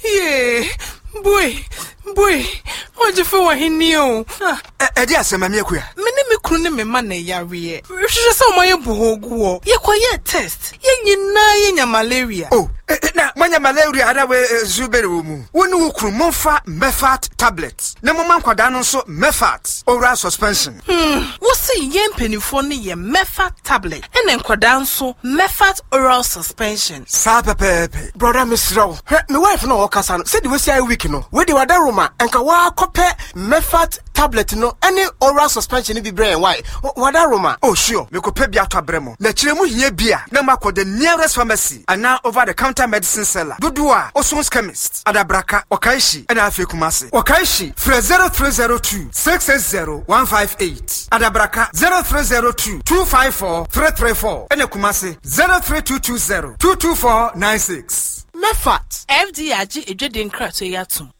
Yee, bue, bue, ɔgyefo wɔ he ni o? Ah. Ɛde asɛm, Maame Akua? Me ne me kunu ne me mma na ɛyareɛ. Hwehwɛ sɛ wɔayɛ bohoo gu hɔ. Yɛkɔyɛɛ test. Yɛn nyinaa yɛnya malaria. Oh, na moanya malaria anaa wei nso bɛn wɔ mu? Wo ne wo kunu momfa Mefat tablet na momma nkwadaa no nso Mefat oral suspension. Hmm, wo se yɛn mpanimfoɔ no yɛ Mefat tablet ɛna nkwadaa nso Mefat oral suspension. Saa pɛpɛɛpɛ. Brɔda mesrɛ wo, hwɛ me wife no a ɔkasa no, sɛdeɛ wasi ayɛ weak no, wei deɛ wadaroma, nka woakɔpɛ Mefat tablet no ne oral suspension no bi brɛ yɛn wai, wadaroma. Oh sure, mekɔpɛ bi atɔ abrɛ mo, na kyerɛ mo hia bi a na moakɔ the nearest pharmacy anaa over the counter medicine seller dodoɔ a Oson's chemist, Adabraka, Okaishie ɛna afei Kumasi. Okaishie, frɛ 0302 660 158, Adabraka 0302 254 334 ɛna Kumasi 03220 224 96. Mefat. FDA agye adwadie nkratoɔ yi atom.